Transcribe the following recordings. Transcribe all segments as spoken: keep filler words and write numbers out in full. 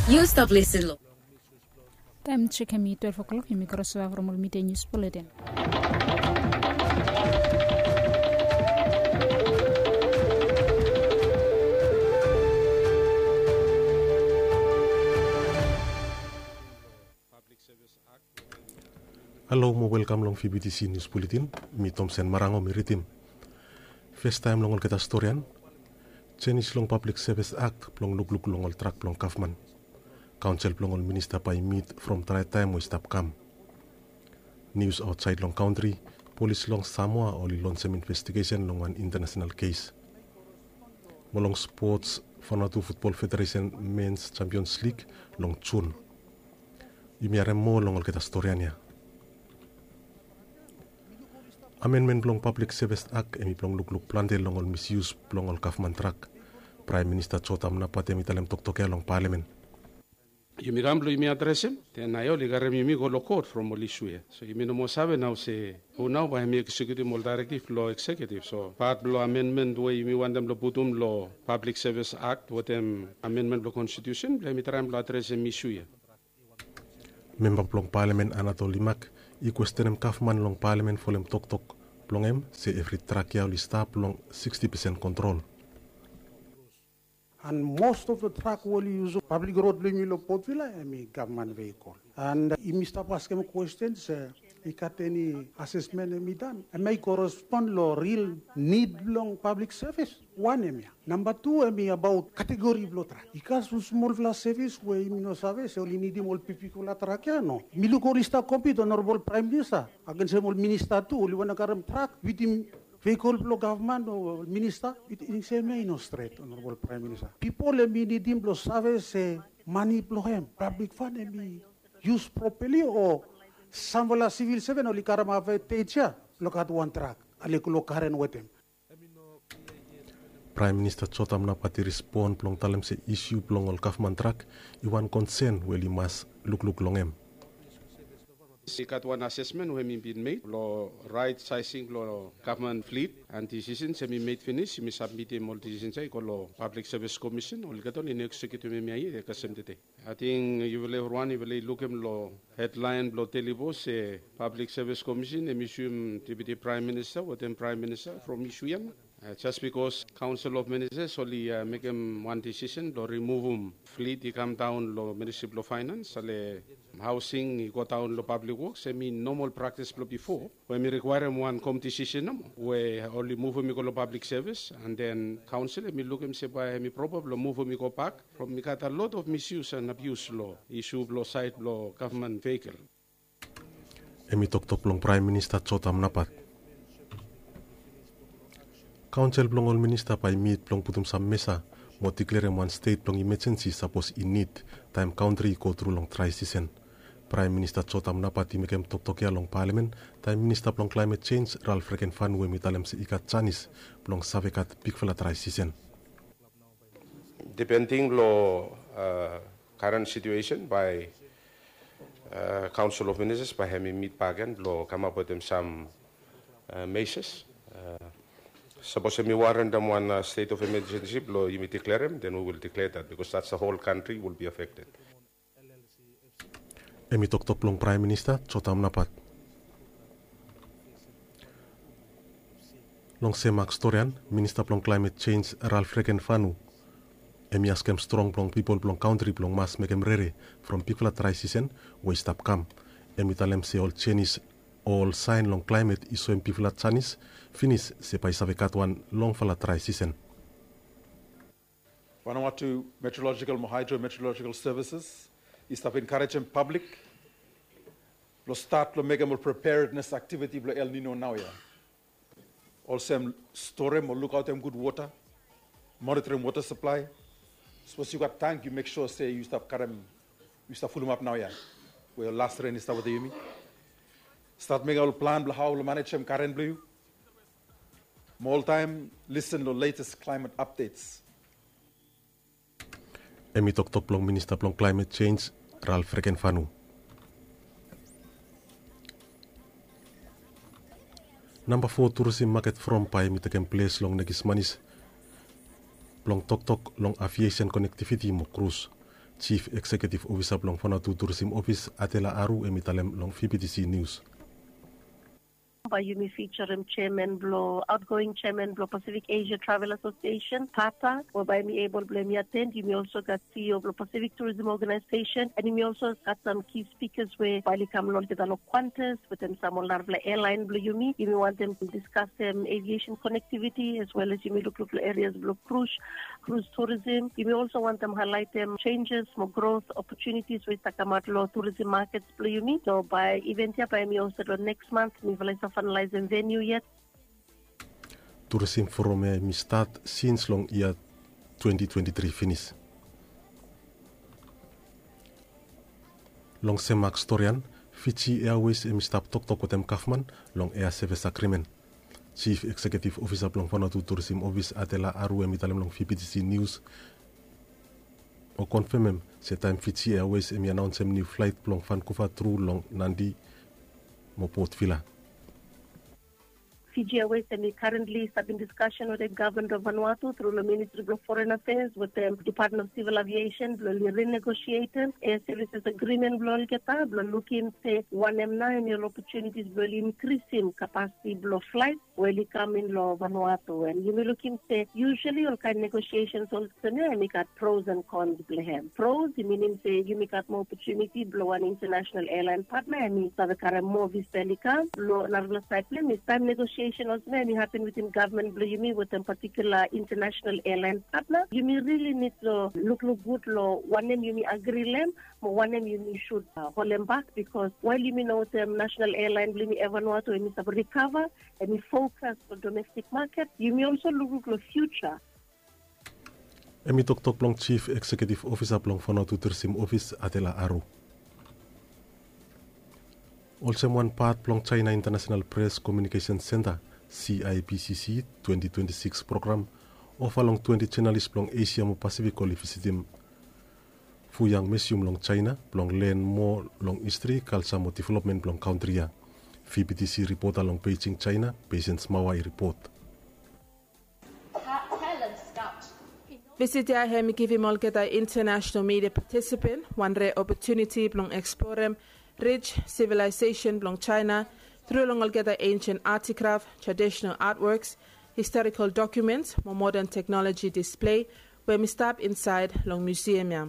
Yu stap lisin long. Taem tsekem i twelve o'clock, yumi krosova from ol midei nius buletin. Halo mo welkam long V B T C News Bulletin. Mi Tomsen Marango mi ridim. Festaem long olgeta storian. Jenis long Public Service Act blong lukluk long ol trak blong gavman. Kaonsel blong ol minista bae i mit from drae taem we i stap kam. Nius aotsaed long kantri, polis long Samoa oli lonsem investigesen long wan intanasenal kes. Mo long spots, Vanuatu Futbol Federesen Mens Champions Lig long Jun. Yumi harem moa long olgeta storian ya. Amenmen blong Pablik Sevis Ak hem i blong lukluk plante long ol misius blong ol gavman trak. Praem Minista Jotam Napat hem i talem toktok ya long palamen. Yumi kam blong yumi adresem, den nao oli karem yumi go long kot from ol isu ya. So yumi no moa save nao se hu nao bae hem i eksekiutim ol daerektif blong eksekiutif. So pat blong amenmen we yumi wantem blong putum long Pablik Sevis Ak wetem amenmen blong konstitiusen blong hem i traem blong adresem isu ya. Memba blong palamen Anatol Limak i kwestenem gavman long palamen folem toktok blong hem se evri trak ya oli stap long siksti pesen kontrol. And most of the truck we oli yusum pablik rod blong yumi long Port Vila hem i gavman veikol. And yumi stap askem kwesten se i gat eni asesmen hem i dan hem i korespon long ril nid blong pablik sevis. Wan hem ya. Namba tu hem i abaot kategori blong trak. I gat sam smolfala sevis we yumi no save se oli nidim ol bigbigfala trak ya, no? Mi luk oli stap kompit, Onorabol Praem Minista, agensem ol minista tu oli wantem karem trak wetem veikol blong gavman o minista. It i sem ya i no stret, Onorabol Praem Minista. Pipol hem i nidim blong save se mane blong hem, pablik fan, hem i yus propali o samfala sivil seven oli karem advantej ya blong gat wan trak ale long karen wetem. Praem Minista Jotam Napat i respon blong talem se isu blong ol gavman trak i wan konsen we oli mas lukluk long hem. I gat wan asesmen we hem i bin made blong raet saesing blong gavman flit, and disisens hem i med finis, yumi sabmitim ol disisens ya i go long Pablik Sevis Komisen, olgeta oli no eksekiutim hem ya yet i kasem tede. Ating yufala evriwan yufala i lukim long hedlaen blong Daily Post se Pablik Sevis Komisen hem i suim Deputi Praem Minista wetem Praem Minista from isu ya nao. Jes bikos Kaonsel of Ministas oli mekem wan disisen blong rimuvum flit i kamdaon long Ministri blong Faenans, ale haosing i godaon long Pablik Woks, hem i nomol praktis blong bifo we hem i rikwaerem wan kom disisen nomo we oli muvum i go long pablik sevis, and then kaonsel hem i lukim se bae hem i propa blong muvum i gobak from i gat a lot of misuse and abuse long isu blong saed blong gavman veikol. Hem i toktok blong Praem Minista Jotam Napat. Kaonsel blong ol minista bae i mit blong putum sam mesa mo diklerem wan stet blong imajensi sapos i nid taem kantri i gotru long drae sisen. Praem Minista Jotam Napat i mekem toktok ya long palamen taem Minista blong Klaemet Jenj Ralf Rekenfanu hem i talem se i gat janis blong save gat bigfala drae sisen. Dipending long karen situesen bae Kaonsel of Ministas bae hem i mit bakegen blong kamap wetem sam meses. Sapos hem i warentem wan stet of emejensi blong yumi diklerem, then we will declare that because that's the whole country will be affected. Hem i toktok blong Praem Minista Jotam Napat. Long sem mak storian, Minista blong Klaemet Jenj Ralf Rekenfanu hem i askem strong blong pipol blong kantri blong mas mekem rere from bigfala drae sisen we i stap kam. Hem i talem se ol jenis o ol saen long klaemet i soem bigfala janis finis se bae i save gat wan longfala drae sisen. Vanuatu Meteorological mo Hydrometeorological Services i stap enkarejem pablik blong stat long mekem ol preparednes aktiviti blong El Nino naoia. Olsem storem o lukaotem gud wota, monitorim wota saplae. Sapos yu gat tank yu mek sua se yu stap karem, yu stap fulumap naoia we ol las ren i stap wetem yumi. Stat mekem ol plan blong hao blong manejem karen blong yu. Mo oltaem lisen long letes klaemet apdets. Hem i toktok blong Minista blong Klaemet Jenj Ralf Rekenfanu. Namba fo turisim maket from bae hem i tekem ples long Nekismanis blong toktok long aviesen konektiviti mo krus. Jif Ekseketif Ofisa blong Vanuatu Turisim Ofis, Atela Aru, hem i talem long V B T C Nius. Bae yumi fijarem jeaman blong, aotgoing jeaman blong Pacific Asia Travel Association, pata, we bae yumi ebol blong yumi aten. Yumi olso gat C E O blong Pacific Tourism Organization, and yumi olso gat sam ki spikas we bae oli kam long olgeta long Qantas wetem sam ol narafala airline blong yumi. Yumi wantem diskasem aviation connectivity as well as yumi lukluk long areas blong cruise, cruise tourism. Yumi olso wantem highlightem changes mo growth opportunities we i stap kamaot long tourism markets blong yumi. So bae event ya bae yumi hosted long next month. Mifala i stap finalizem venue yet. Turisim forum ya hem i stat sins long yia twenty twenty-three finis. Long sem mak storian, Fiji Airways hem i stap toktok wetem gavman long air service agreement. Jif Ekseketif Ofisa blong Vanuatu Turisim Ofis, Atela Aru, hem i talem long V B T C Nius o konfemem se taem Fiji Airways hem i anaonsem niu flaet blong Vancouver tru long Nadi mo Port Vila. Fiji Airways hem i currently stap in discussion wetem gavman blong Vanuatu tru long Ministry blong Foreign Affairs wetem Department of Civil Aviation blong oli renegotiatem air services agreement blong olgeta blong lukim se wanem nao hem i ol opportunities blong oli inkrisim capacity blong flaet we oli kam in long Vanuatu. And yumi lukim se usually olkaen negotiations olsem ya hem i gat pros and cons blong hem. Pros i minim se yumi gat moa opportunity blong wan international airline partner, hem i save karem moa visitor oli kam. Long narafala saed blong hem i taem negotiation olsem ya hem i hapen wetem gavman blong yumi wetem particular international airline partner, yumi really nid long lukluk gud long wanem yumi agri long hem mo wanem yumi sud holem bak, because wael yumi no wetem national airline blong yumi, Air Vanuatu, hem i save rikava, hem i fokas long domestik maket, yumi olso lukluk long fiuja. Hem i toktok blong Jif Ekseketif Ofisa blong Vanuatu Turisim Ofis, Atela Aru. Olsem wan pat blong Jaena International Press Communication Centre, C I P C C, twenty twenty-six program, ova long twenti jenalis blong Esia mo Pasifik oli visitim Fuyang Museum long Jaena blong len moa long histri, kalja mo developmen blong kantri ya. V B T C ripota long Beijing, Jaena, Patience Mawa i ripot. Visit ya hem i givim olgeta international media participant wan rare opportunity blong explorem rich civilization blong Jaena tru long olgeta ancient artikraf, traditional artworks, historical documents mo modern technology display we hem i stap insaed long museum ya.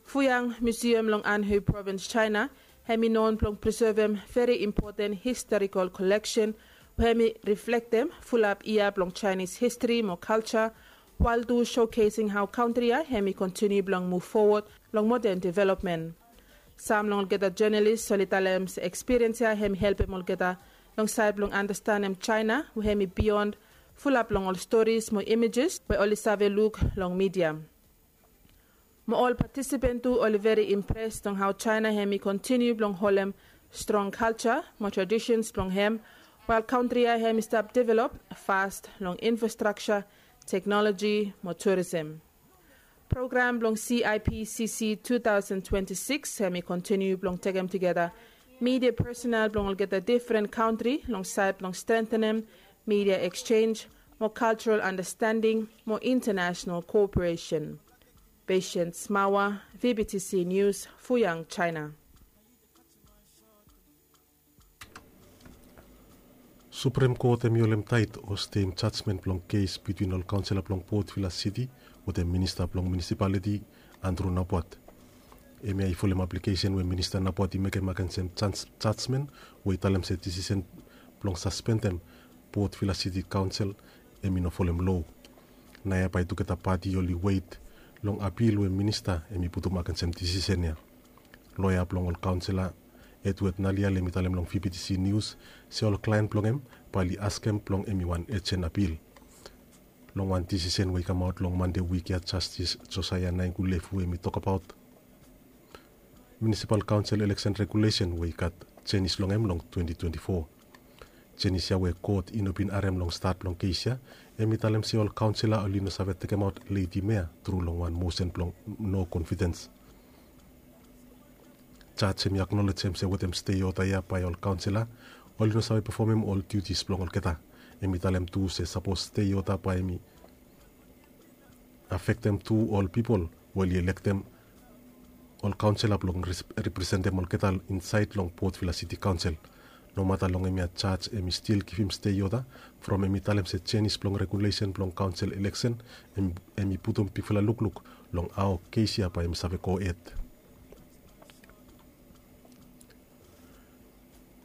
Fuyang Museum long Anhui Province, Jaena, hem i known blong presevem veri impoten historical koleksen we hem i riflektem fulap yia blong Jaenis histri mo kalja, wael tu showcasing hao kantri ya hem i kontiniu blong muv fowod long moden developmen. Sam long olgeta jenalis oli talem se ekspiriens ya hem i helpem olgeta long saed blong andastanem Jaena we hem i bion fulap long ol storis mo imejes we oli save luk long midia. Mo ol patisipen tu oli veri impres long hao Jaena hem i kontiniu blong holem strong kalja mo tradisens blong hem, wael kantri ya hem i stap develop fas long infrastrakja, teknoloji mo turisem. Program blong C I P C C two thousand twenty-six hem i kontiniu blong tekem tugeta midia personal blong olgeta difren kantri long saed blong strengtenem midia eksenj mo kaljaral andastending mo intanasenal koperesen. Patience Mawa, V B T C Nius, Fuyang, Jaena. Suprem Kot hem i holem taet o steim jajmen blong kes bitwin ol kaonsela blong Port Vila Siti wetem minista blong munisipaliti, Andrew Napuat. Hemia i folem aplikesen we Minista Napuat i mekem agensem jajmen we i talem se disisen blong saspendem Port Vila Siti Kaonsel hem i no folem loa. Naoia bae tugeta pati oli wet long apil we minista hem i putum agensem disisen ya. Loea blong ol kaonsela, Edward Nalial, hem i talem long V B T C Nius se ol klaen blong hem bae oli askem blong hem i wan ejen apil long wan disisen we i kamaot long Mande wik ya. Jastis Josaia Naingulefu hem i tokbaot Munisipal Kaonsel Eleksen Regulesen we i gat jenis long hem long twenti twenti fo. Jenis ya we kot i no bin harem long stat blong kes ya, hem i talem se ol kaonsela oli no save tekemaot Ledi Mea tru long wan mosen blong no konfidens. Jaj hem i aknolejem se wetem stei oda ya bae ol kaonsela oli no save pefomem ol diutis blong olgeta. Hem i talem tu se sapos stei oda bae hem i afektem tu ol pipol we oli elektem ol kaonsela blong representem olgeta insaed long Port Vila Siti Kaonsel. Nomata long hemia jaj hemi stil givim stei oda from hemi talem se jenis blong regulesen blong kaonsel ileksen hemi putum bigfala lukluk long hao kes ya bae hemi save gohed.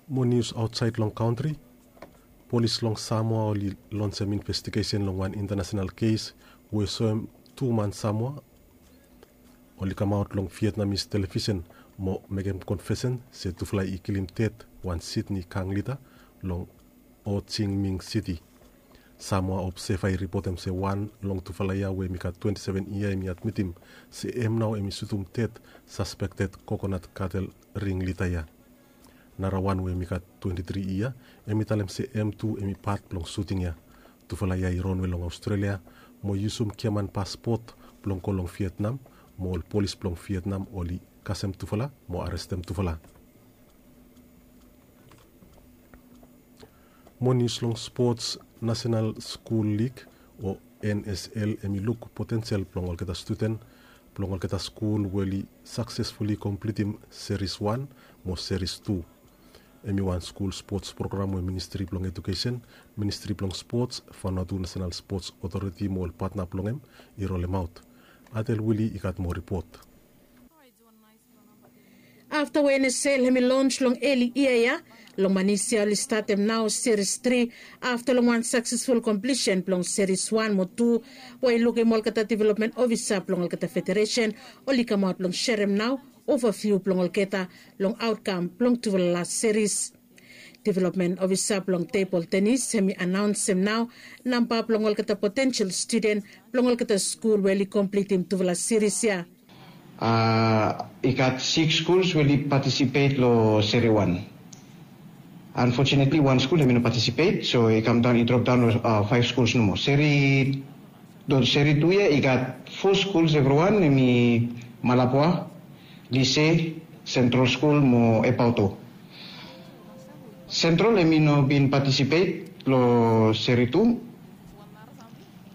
Mo nius aotsaed long kantri. Polis long Samoa oli lonsem investigesen long wan intanasenal kes we soem tu man Samoa oli kamaot long Vietnamis televisen mo mekem konfesen se tufala i kilim ded wan Sydney gang lida long Ho Chi Minh City. Samoa Observer i ripotem se wan long tufala ya we hemi gat twenti seven yia hemi admitim se hem nao hemi sutum ded saspekted kokonat katel ring lida ya. Narawan we hemi gat twenti tri yia hemi talem se hem tu hemi pat blong suting ya. Tufala ya i ronwe long Aostralia mo yusum giaman paspot blong go long Vietnam, mo ol polis blong Vietnam oli kasem tufala mo arestem tufala. Mo nius long spots. Nasenal Skul Lig o N S L hemi luk potensel blong olgeta studen blong olgeta skul we oli saksesfuli komplitim seris wan mo seris tu. Hemi wan skul spots program we Ministri blong Ejukesen, Ministri blong Spots, Vanuatu Nasenal Spots Otoriti mo ol patna blong hem i rolemaot. Atel Wili i gat moa ripot. Afta we N S L hemi lons long eli yia ya, long manis ya oli statem nao seris tri afta long wan saksesful komplisen blong seris wan mo tu, we i lukim olgeta developmen ofisa blong olgeta federesen oli kamaot blong serem nao ovaviu blong olgeta long aotkam blong tufala las seris. Developmen ofisa blong tebol tenis hemi anaonsem nao namba blong olgeta potensel studen blong olgeta skul we oli komplitim tufala seris ya. I gat siks skuls we oli patisipet long seri wan. Anfotunetli wan skul hemi no patisipet, so i kamdaon i dropdaon long faef skuls nomo. Seri tu ya i gat fo skuls evriwan, hemi Malabwa, Lise, Sentrol Skul mo Epauto. Sentrol hemi no bin patisipet long seri tu,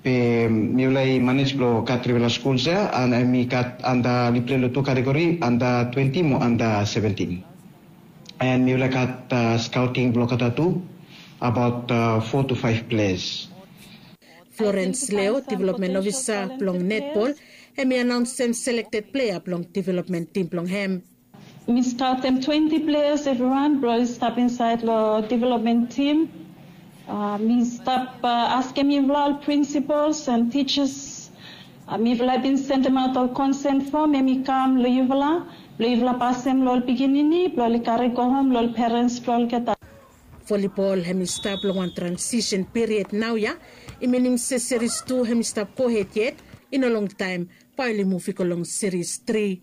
be mifala i manej blong gat trifala skuls ya, an hemi gat anda oli pilei long tu kategori, anda twenti mo anda seventin. An mifala i gat skaoting blong olgeta tu, abaot fo tu faef pleas. Florens Leo, developmen ofisa blong netbol, hemi anaonsem selekted plea blong developmen tim blong hem. Mi skaotem twenti pleas evriwan blong oli stap insaed long developmen tim. Mi stap askem yufala ol prinsipols an tijas. Mifala i bin sendemaot ol konsen fom, hemi kam long yufala blong yufala pasem long ol pikinini blong oli kari gohom long ol perens blong olgeta. Volibol hemi stap long wan transisen piriod naoia. I minim se seris tu hemi stap gohed yet. I no longtaem bae oli muv i go long seris tri.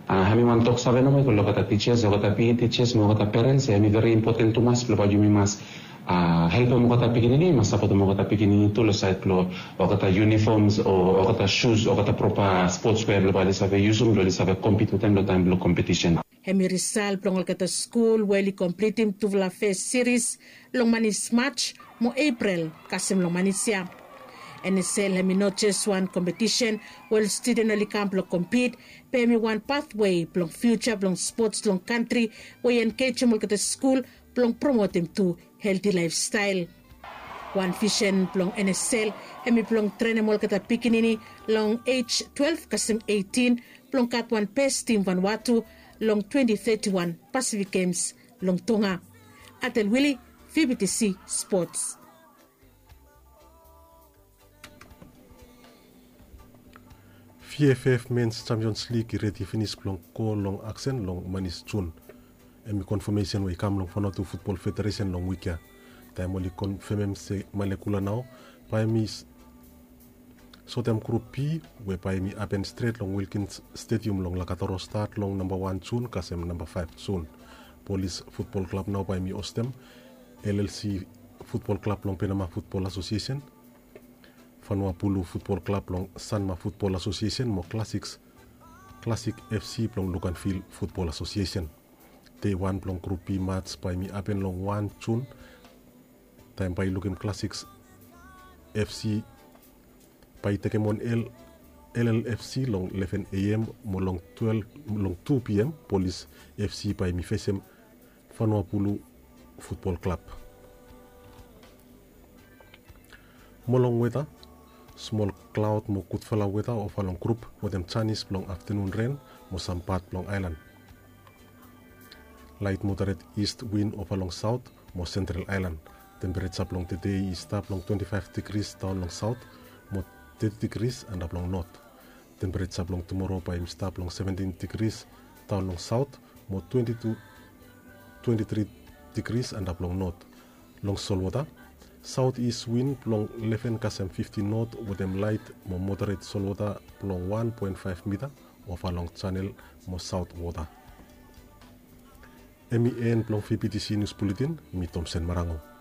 Hemi wan toksave nomo i go long olgeta tijas, olgeta pe tijas mo olgeta perens, hemi veri impoten tumas blong bae yumi mas helpem olgeta pikinini, mas sapotem olgeta pikinini tu long saed blong olgeta yunifoms o olgeta sus, olgeta propa spots wea blong bae oli save yusum blong oli save kompit wetem long taem blong kompetisen. Hemi risal blong olgeta skul we oli komplitim tufala fes seris long manis Maj mo Epril kasem long manis ya. N S L hemi no jes wan kompetisen we ol studen oli kam blong kompit, be hemi wan pathwei blong fiuja blong spots long kantri we i engejem olgeta skul blong promotem tu helti laefstael. Wan visen blong N S L hemi blong trenem olgeta pikinini long ej twelef kasem eitin blong gat wan bes tim Vanuatu long twenti teti wan Pasifik Gems long Tonga. Atel Wili, V B T C Spots. V F F Mens Champions League i redi finis blong go long aksen long manis Jun. Hemi konfamesen we i kam long Vanuatu Futbol Federesen long wik ya. Taem oli konfamem se Malekula nao bae hemi sotem grup B we bae hemi hapen stret long Wilkins Stadium long Lakatoro stat long namba wan Jun kasem namba faef Jun. Polis Futbol Klab nao bae hemi hostem L L C Futbol Klab long Penama Futbol Asosiesen, Vanuapulu Futbol Klab blong Sanma Futbol Asosiesen mo Klasiks, Klasik F C blong Luganvil Futbol Asosiesen. Dei wan blong grup B mats bae hemi hapen long wan Jun, taem bae i lukim Klasiks F C bae i tekem on el L L F C long eleven A M mo long twelve, long two P M, Police F C bae i fesem Vanuabulu Futbol Klab. Mo long weta, smol klaod mo gudfala weta ova long grup wetem janis blong aftanun ren mo sam pat blong aelan. Laet moderet ist win ova long saot mo sentral aelan. Tempereja blong tede i stap long twenti faef digris daon long saot mo teti digris antap long not. Tempereja blong tumoro bae i stap long seventin digris daon long saot mo twenti tu twenti tri digris antap long not. Long solwota, saot ist win blong eleven kasem fifti not wetem laet mo moderet solwota blong wan poen faef mita ova long janel mo saot wota. Hemi en blong V B T C Nius Buletin, mi Tomsen Marango.